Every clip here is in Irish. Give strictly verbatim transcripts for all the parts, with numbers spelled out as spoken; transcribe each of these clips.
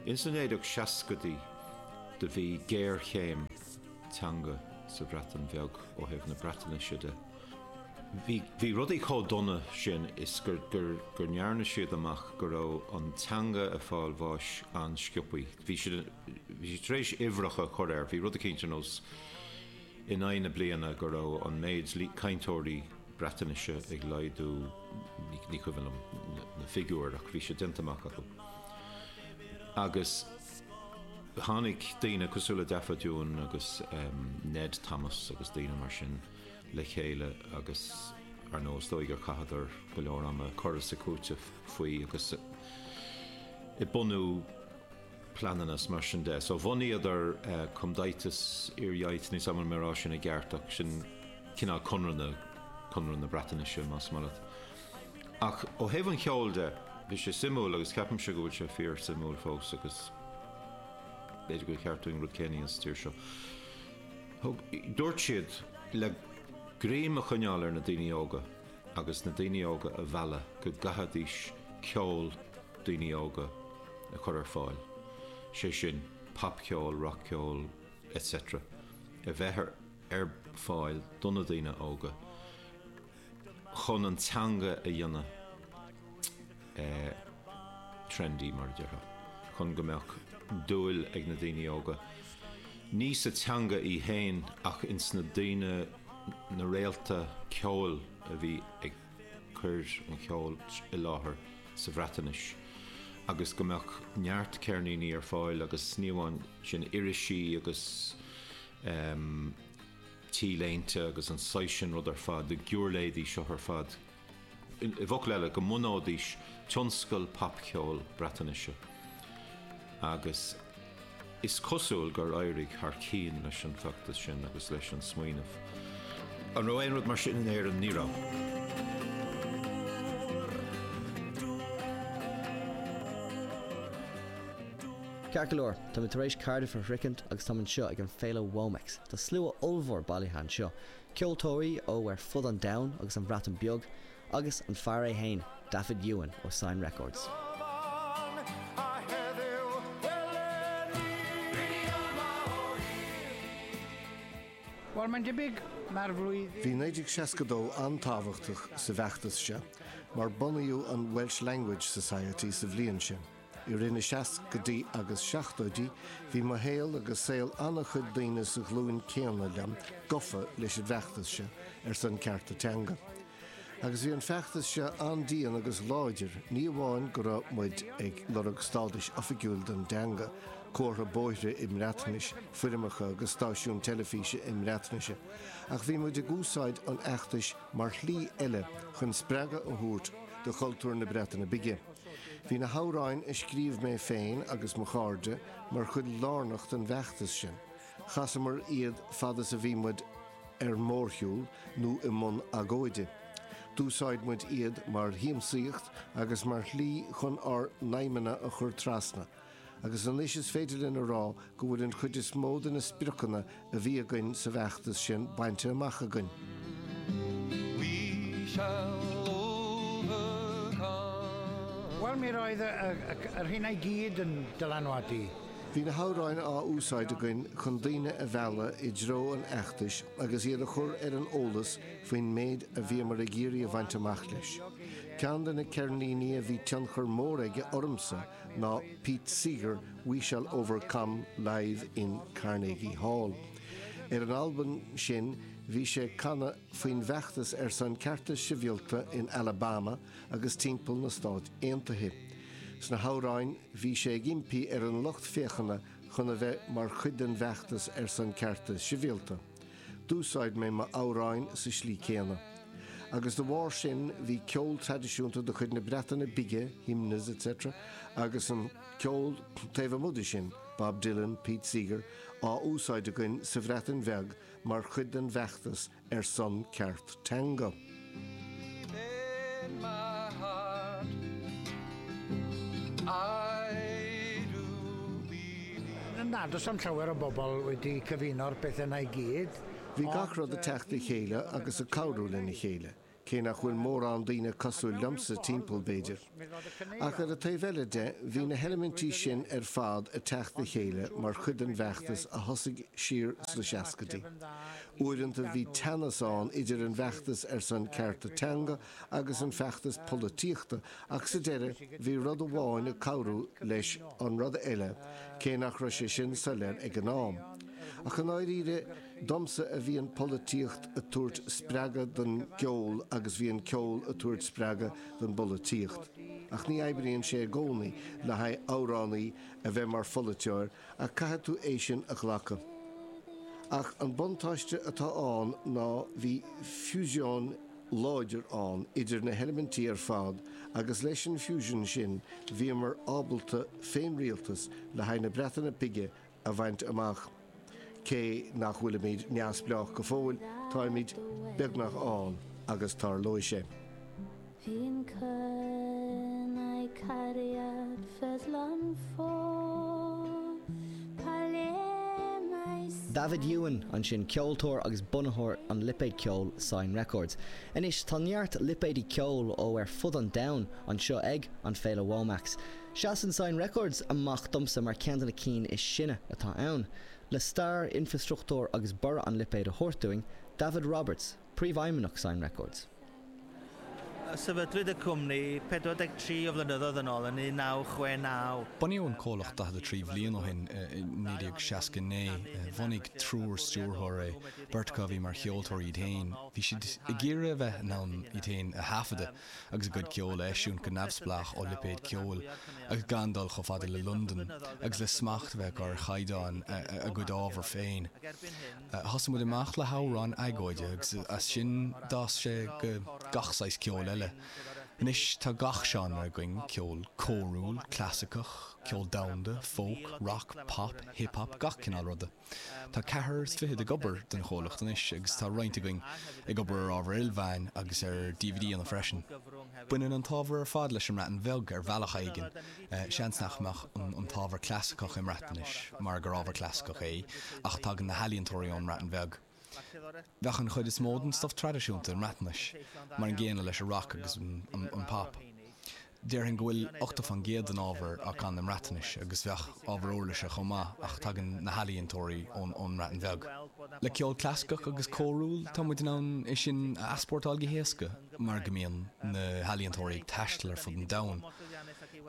Ins na naoi déag seascaidí do bhí géarchéim teanga sa Bhreatain Bheag ó thaobh na Breatnaise de. Bhí bhí rudaí chomh dona sin is gur gur gur ndearna siad amach go raibh an teanga ag fáil bháis an-sciobthaí. Bhí siad bhí siad tar éis uimhreacha a chur air, bhí rud eicínt ar nós in aghaidh na bliana go raibh an méid cainteoirí Breatnaise ag laghdú ní cuimhin liom na figiúir ach bhí sé déanta amach acu. Agus tháinig daoine cosúil le Dafydd Iwan agus Ned Thomas agus daoine mar sin le chéile agus ar ndóigh is dóigh gur chaitheadar go leor ama ag cur is ag cúiteamh faoi agus ag bunú pleananna is mar sin de. So bhunaíodar Cymdeithas yr Iaith, níl 's agam an mé ag rá sin i gceart ach sin cineál Conradh na Conradh na Breatnaise más maith leat. Ach ó thaobh an cheoil de, bhí sé suimiúil agus ceapaimse go bhfuil sé fíor suimiúil fós agus b'fhéidir gur cheart dúinn rud céanna sa tír seo. Thug, dúirt siad le greim a choinneáil ar na daoine óga agus na daoine óga a mhealladh go gcaithfidís ceol daoine óga a chur ar fáil, sé sin popcheol, rockcheol, etc. a bheith ar ar fáil do na daoine óga chun an teanga a dhéanamh trendy mar a déarfá, chun go mbeadh dúil ag na daoine óga, ní sa teanga í féin ach ins na daoine, na réalta ceoil a bhí ag cur an cheoil i láthair sa Bhreatnais agus go mbeadh neart ceirníní ar fáil agus ní amháin sin irisí agus T-léinte agus an saghas sin rud ar fad, na giúirléidí seo ar fad, i bhfocail eile, go mbunóidís tionscal popcheoil Breatnaise. Agus is cosúil gur éirigh thar cionn leis an bhfeachtas sin agus leis an smaoineamh. An raibh aon rud mar sin in Éirinn? Ní raibh. Ceart go leor, tá mé tar éis Cardiff a shroichint agus táim anseo ag an féile WOMEX. Tá slua ollmhór bailithe anseo, ceoltóirí ó ar fud an domhain agus an Bhreatain Beag, agus an fear é fhéin, Dafydd Iwan ó Sain Records. Bhuel, mae'n debyg, mae'r flwyddyn... Bhí naoi déag seasca dó an-tábhachtach sa bhfeachtas seo mar bunaíodh an Welsh Language Society sa bhliain sin. I rith na seascaidí agus seachtóidí, bhí mo shaol agus saol an-chuid daoine sa ghlúin céanna liom gafa leis an bhfeachtas seo ar son cearta teanga. Agus bhí an feachtas seo an-dian agus láidir, ní amháin go raibh muid ag lorg stádais oifigiúil don dteanga, comhartha bóithre i mBreatnais, foirmeacha agus stáisiún teilifíse i mBreatnaise, ach bhí muid ag úsáid an fheachtais mar shlí eile chun spreagadh a thabhairt do chultúr na Breataine Bige. Bhí na hamhráin a scríobh mé féin agus mo chairde mar chuid lárnach den bhfeachtas sin. Chasamar iad fad is a bhí muid ar mórshiúl nó i mbun agóide. D'úsáid muid iad mar shiamsaíocht agus mar shlí chun ár n-aidhmeanna a chur trasna. Agus anois is féidir linn a rá go bhfuil an chuid is mó de na spriocanna a bhí againn sa bhfeachtas sin bainte amach againn. We shall overcome. Wel, mi roedd y, y, y, yr hynna i gyd yn dylanwadu. Bhí na hamhráin á úsáid againn chun daoine a mhealladh i dtreo an fheachtais agus iad a chur ar an eolas faoin méid a bhíomar ag iarraidh a bhaint amach leis. Ceann de na ceirníní a bhí tionchar mór aige ormsa ná Pete Seeger We Shall Overcome Live in Carnegie Hall. Ar an albam sin bhí sé ag canadh faoin bhfeachtas ar son cearta sibhialta in Alabama agus timpeall na Stát Aontaithe. Sna hamhráin bhí sé ag impí ar an lucht féachana chun a bheith mar chuid den bhfeachtas ar son cearta sibhialta. D'úsáid mé m'amhráin sa slí céanna. Agus de bharr sin bhí ceol traidisiúnta de chuid na Breataine Bige, hymns etc. agus an ceol taobh amuigh de sin, Bob Dylan, Pete Seeger, á úsáid againn sa Bhreatain Bheag mar chuid den bhfeachtas ar son ceart teanga. In my heart, I do believe. Na, does 'am llawer o bobl wedi cyfuno'r pethau yna i gyd. Bhí gach rud ag teacht le chéile agus ag cabhrú lena chéile. cé nach bhfuil mórán daoine cosúil liomsa timpeall b'fhéidir. Ach ar an taobh eile de bhí na heilimintí sin ar fad ag teacht le chéile mar chuid den bhfeachtas a thosaigh siar sna seascaidí. Uaireanta bhí teannas ann idir an bhfeachtas ar son cearta teanga agus an feachtas polaitíochta ach sa deireadh bhí rud amháin ag cabhrú leis an rud eile cé nach raibh sé sin soiléir ag an am. Ach i ndáiríre domsa a bhí an pholaitíocht ag tabhairt spreagadh don gceol agus bhí an ceol ag tabhairt spreagadh don bpolaitíocht. Ach ní oibríonn sé i gcónaí le haghaidh amhránaí a bheith mar pholaiteoir ach caithfidh tú é sin a ghlacadh. Ach an buntáiste atá ann ná bhí fusion láidir ann idir na heilimintí ar fad agus leis an fusion sin bhíomar ábalta féinrialtas le haghaidh na Breataine Bige a bhaint amach. Cé nach bhfuilimid neamhspleách go fóill, táimid beagnach ann agus tarlóidh sé. Fi'n cynnau cariad ffyddlon ffôl Pa le mae Dafydd Iwan ansin ceoltóir agus bunaitheoir an lipéid ceoil Sain Records. Anois tá neart lipéidí ceoil ó ar fud an domhain anseo ag an Féile WOMEX. Seasann Sain Records amach domsa mar ceann de na cinn is sine atá ann. Le stair infrastruchtúr agus borradh an lipéid a thabhairt dúinn, David Roberts, príomhfheidhmeannach Sain Records. Sefydlwyd y cwmni pedwar deg tri o flynyddoedd yn ôl yn un naw chwe naw. Bunaíodh an comhlacht daichead a trí bhliain ó shin i naoi déag seasca naoi, bhunaigh triúr stiúrthóir é, beirt acu a bhí mar cheoltóirí iad féin. Bhí siad ag iarraidh a bheith in ann iad féin a thaifeadadh agus a gcuid ceoil a eisiúint go neamhspleách ó lipéad ceoil agus gan dul chomh fada le Londain agus le smacht a bheith acu ar chaighdeán a gcuid ábhar féin. Thosaigh muid amach le hamhráin agóide agus as sin d'fhás sé go gach saghas ceoil eile. Anois tá gach seánra againn ceol córúil, clasaiceach, ceol domhanda, folk, rock, pop, hip-hop, gach cineál ruda. Tá ceathrar is fiche ag obair don chomhlacht anois agus tá roinnt againn ag obair ar ábhar ilmheáin agus ar D V D-anna freisin. Baineann an t-ábhar ar fad leis an mBreatain Bheag ar bhealach éigin, seans nach mbeadh an t-ábhar clasaiceach i mBreatnais mar gur ábhar clasaiceach é ach tagann na healaíontóirí ón mBreatain Bheag. Bheadh an chuid is mó den stuff traidisiúnta i mBreatnais, mar an gcéanna leis an rock agus an pop. Déarfainn go bhfuil ochtó faoin gcéad den ábhar á chanadh i mBreatnais agus bheadh ábhar uirlise chomh maith ach tagann na healaíontóirí ón ón mBreatain Bheag. Le ceol clasaiceach agus córúil tá muid in ann é sin a easpórtáil go héasca mar go mbíonn na healaíontóirí ag taisteal ar fud an domhain.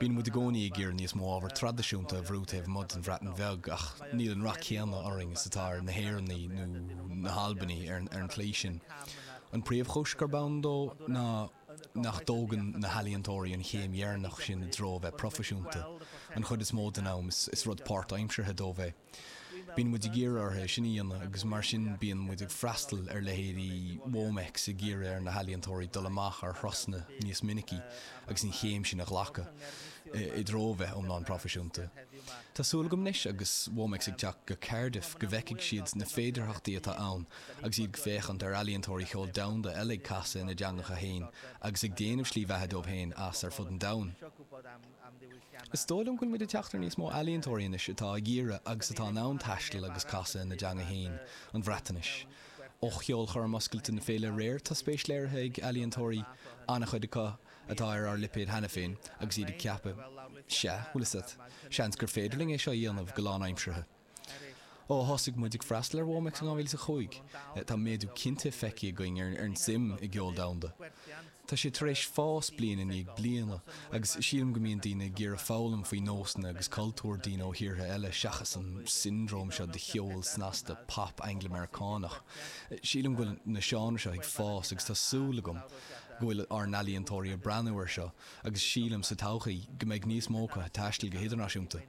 Bíonn muid i gcónaí ag iarraidh níos mó ábhar traidisiúnta a bhrú taobh amuigh den Bhreatain Bheag ach níl an rath céanna orainn is atá ar na hÉireannaigh nó na hAlbanaigh ar ar an tslí sin. An príomhchúis gurb ann dó ná nach dtógann na healaíontóirí an chéim dheireanach sin i dtreo bheith proifisiúnta. An chuid is mó den am is, is rud páirtaimseartha dóibh é. Bíonn muid ag iarraidh orthu sin a dhéanamh agus mar sin bíonn muid ag freastal ar leithéidí WOMEX ag iarraidh ar na healaíontóirí dul amach ar thurasanna níos minicí agus an chéim sin a ghlacadh i dtreo bheith iomlán proifisiúnta. Tá súil agam anois agus WOMEX ag teacht go Cardiff go bhfeicfidh siad na féidearthachtaí atá ann agus iad ag féachaint ar ealaíontóirí ceoil domhanda eile ag casadh ina dteangacha féin agus ag déanamh slí bheatha dóibh féin as ar fud an domhain. Is dóigh liom go bhfuil muid ag teacht ar níos mó ealaíontóirí anois atá ag iarraidh agus atá in ann taisteal agus casadh ina dteanga féin an Bhreatnais. Ó cheolchoirm oscailte na féile aréir tá spéis léirithe ag ealaíontóirí an-chuid acu atá ar ár lipéad cheana féin agus iad ag ceapadh sea, bhfuil a fhios agat, seans gur féidir linn é seo a dhéanamh go lánaimseartha. Ó thosaigh muid ag freastal ar WOMEX in dhá mhíle is a cúig, tá méadú cinnte feicthe againn ar an suim i gceol domhanda. Tá sé tar éis fás bliain i ndiaidh bliana agus sílim go mbíonn daoine ag iarraidh foghlaim faoi nósanna agus cultúr daoine ó thíortha eile seachas an siondróm seo de cheol snasta pop Angla-Meiriceánach. Sílim go bhfuil na seánraí seo ag fás agus tá súil agam go bhfuil ár n-ealaíontóirí ag breathnú air seo agus sílim sa todhchaí go mbeidh níos mó acu ag taisteal go hidirnáisiúnta.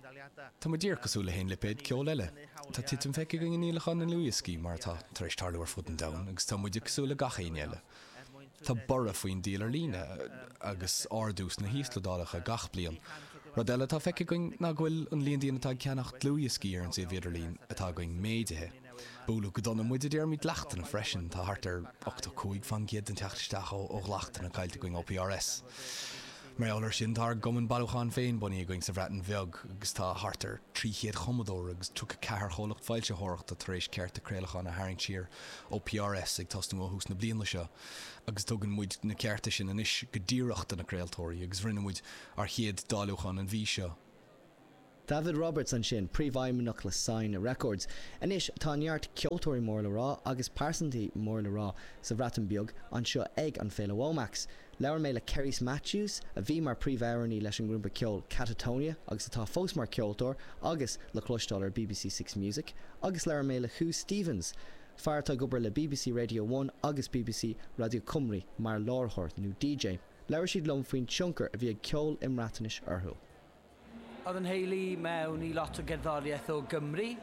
Tá muid díreach cosúil le haon lipéad ceoil eile. Tá titim feicthe againn i ndíolacháin na ndlúthdhioscaí mar atá tar éis tarlú ar fud an domhain agus tá muide cosúil le gach éinne eile. Tá borradh faoin díol ar líne agus ardú sna híoslódálacha gach bliain. Rud eile atá feicthe againn ná go bhfuil an líon daoine atá ag ceannach dlúthdhioscaí ar an suíomh idirlín atá againn méadaithe. Buaileadh go dona muid i dtéarmaí dleachtanna freisin, tá thart ar ochtó cúig faoin gcéad den teacht isteach ó ó dhleachtanna caillte againn ó P R S. Mar gheall air sin tá ár gcumann bailiúcháin féin bunaithe againn sa Bhreatain Bheag agus tá thart ar trí chéad chumadóir agus tríocha ceathair chomhlacht foilsitheoireachta tar éis cearta craolacháin a tharraingt siar ó PRS ag tosnú ó thús na bliana seo agus tugann muid na cearta sin anois go díreach do na craoltóirí agus rinne muid ár chéad dáiliúchán an mhí seo. David Roberts ansin, príomhfheidhmeannach le Sain Records. Anois tá neart ceoltóirí mór le rá agus pearsantaí mór le rá sa Bhreatain Bheag anseo ag an Féile WOMAX. Labhair mé le Cerys Matthews a bhí mar príomhamhránaí leis an ngrúpa ceoil Catatonia agus atá fós mar ceoltóir agus le cloisteáil ar BBC Six Music, agus labhair mé le Huw Stephens, fear atá ag obair le BBC Radio One agus BBC Radio Cymru mar láithreoir nó DJ. Labhair siad liom faoin tionchar a bhí ag ceol i mBreatnais orthu. Oedd yn nheulu mewn i lot o gerddoriaeth o Gymru.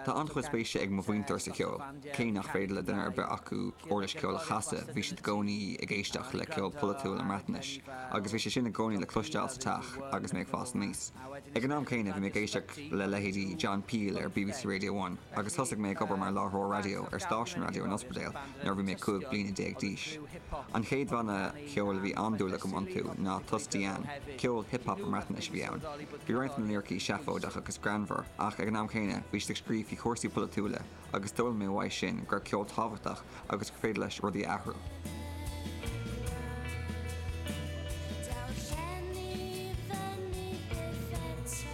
Tá an-chuid spéise ag mo mhuintir sa cheol, cé nach féidir le duine ar bith acu uirlis ceoil a chasadh, bhí siad i gcónaí ag éisteacht le ceol polaitiúil i mBreatnais, agus bhí sé sin i gcónaí le cloisteáil sa teach agus mé ag fás aníos. Ag an am céanna bhí mé ag éisteacht le leithéidí John Peel ar BBC Radio One, agus thosaigh mé ag obair mar láithreoir raidió ar stáisiún raidió in Ospidéal nuair a bhí mé cúig bliana déag d'aois. An chéad bhanna ceoil a bhí an-dúil agam iontu ná Tost Diane, ceol hip-hop i mBreatnais a bhí ann. Bhí roinnt na liricí seafóideach agus greannmhar, ach ag an am céanna bhí siad ag scríobh faoi chúrsaí polaitiúla agus d'fhoghlaim mé uaidh sin go raibh ceol tábhachtach agus gur féidir leis rudaí a athrú. Daw'r llen i fyny byth eto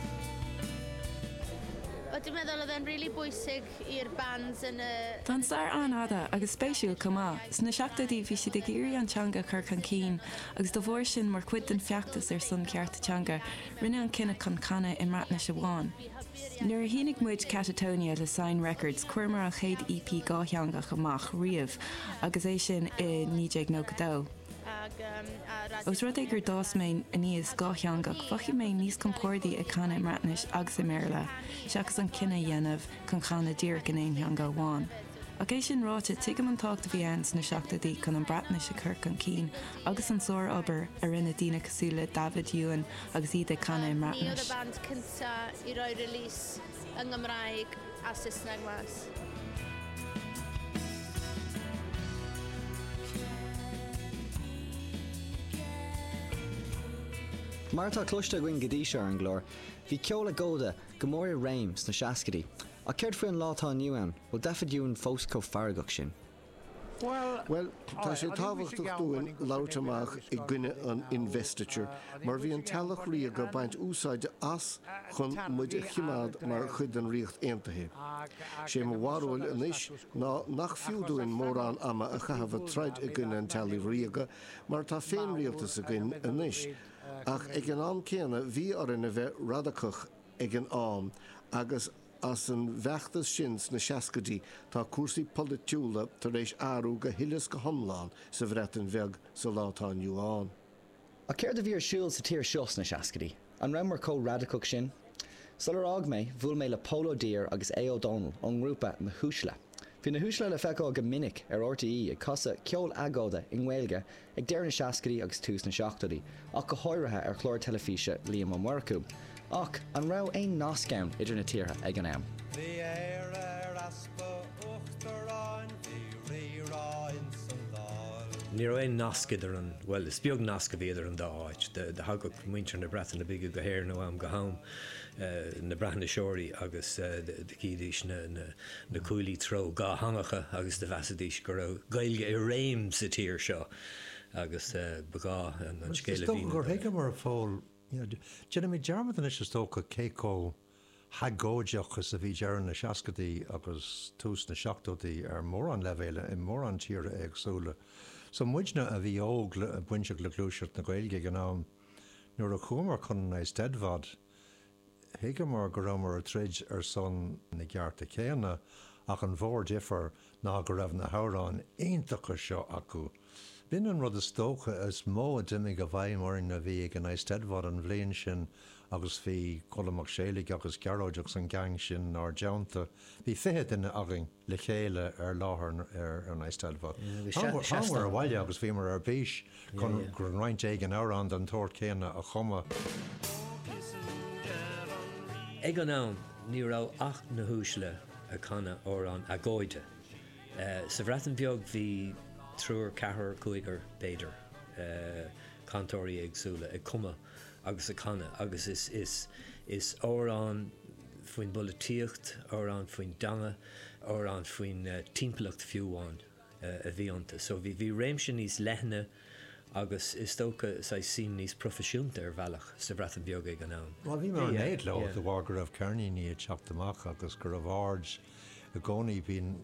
Wel, dwi'n meddwl oedd e'n rili bwysig i'r bands yn y... Tá an stair an-fhada agus spéisiúil chomh maith. Sna seachtóidí bhí siad ag iarraidh an teanga a chur chun cinn, agus dá bharr sin mar chuid den feachtas ar son cearta teanga, rinneadh an cinneadh chun canadh i mBreatnais amháin. Nuair a shínigh muid Catatonia le Sain Records chuireamar an chéad EP dhátheangach amach riamh agus é sin i naoi déag nócha dó. Ag, um, a Os rud é gur d'fhás mé aníos dhátheangach, mhothaigh mé níos compordaí ag canadh i mBreatnais agus i mBéarla, seachas an cinneadh a dhéanamh chun canadh díreach in aon teanga amháin. Ach é sin ráite tuigim an tábhacht a bhí ann sna seachtóidí chun an Breatnais a chur chun cinn agus an sárobair a rinne daoine cosúil le Dafydd Iwan agus iad ag canadh i Ni oedd y mBreatnais. band cynta i roi release yng Nghymraeg a Saesneg mas. Mar atá cloiste againn go dtí seo ar an gclár, bhí ceol agóide go mór i réim sna seascaidí. Ach céard faoin lá atá inniu ann, bhfuil Dafydd Iwan fós chomh feargach sin. Well, tá sé tábhachtach dúinn labhairt amach i gcoinne an investiture, mar bhí an teaghlach ríoga ag baint úsáide as chun muid a choimeád mar chuid den Ríocht Aontaithe. Sé mo bharúil anois ná nach fiú dúinn mórán ama a chaitheamh ag troid i gcoinne an teaghlaigh ríoga, mar tá féinrialtas againn anois, ach ag an am céanna bhí orainn a bheith radacach ag an am agus as an bhfeachtas sin sna seascaidí tá cúrsaí polaitiúla tar éis athrú go huile is go hiomlán sa Bhreatain Bheag sa lá atá inniu ann. Ach céard a bhí ar siúl sa tír seo sna seascaidí, an rabhamar chomh radacach sin? Sular fhág mé, bhuail mé le Pól Ó Duibhir agus Aodh Ó Dónaill ón ngrúpa Na hUaisle. Bhí na hUaisle le feiceáil go minic ar RTÉ ag casadh ceol agóide i nGaeilge ag deireadh na seascaidí agus tús na seachtóidí, ach go háirithe ar chlár teilifíse Liam Ó Murchú. Ach an raibh aon nasc ann idir na tíortha ag an am. Bhí Éire ar easpa uachtaráin, bhí rírá insan Dáil. Ní raibh aon nasc idir an well is beag nasc a bhí idir an dá áit, do thagadh muintir na Breataine Bige go hÉirinn ó am go ham na Breatnaiseoirí agus do chídís na, na, na cuaillí treo dátheangacha agus do mheasaidís go raibh Gaeilge i réim sa tír seo agus ba ghá an scéal a bhí. gur thuigeamar a Phóil Déanaimid dearmad anois is dócha cé chomh hagóideach is a bhí deireadh na seascaidí agus tús na seachtóidí ar mórán leibhéal i mórán tíortha éagsúla. So muidne a bhí óg le bainteach le gluaiseacht na Gaeilge ag an am nuair a chuamar chun an Eisteddfod, thuigeamar go rabhamar ag troid ar son na gcearta céanna ach an mhórdhifear ná go raibh na hamhráin iontacha seo acu. B'in an rud is dócha is mó a d'imigh i bhfeidhm orainn a bhí ag an Eisteddfod an bhliain sin agus bhí Colm Mac Séalaigh agus Gearóid agus an gang sin ár dteannta. Bhí fiche duine againn le chéile ar láthair ar an Eisteddfod. Thámar abhaile agus bhíomar ar bís chun gur roinnt éigin amhrán den tsórt céanna a chumadh. Ag an am ní raibh ach na hUaisle ag canadh amhrán agóide. Sa Bhreatain Bheag bhí triúr ceathrar cúigear b'fhéidir. cainteoirí éagsúla ag cumadh agus ag canadh agus is is is amhrán faoin bpolaitíocht, amhrán faoin dteanga, amhrán faoin uh, timpeallacht fiú amháin uh, a bhí iontu. So bhí bhí réimse níos leithne agus is dócha saghas níos proifisiúnta ar bhealach sa Bhreatain Bheag ag an am. Well bhí mar néad le de bharr go raibh ceirníní ag teacht amach agus go raibh aird i gcónaí bíonn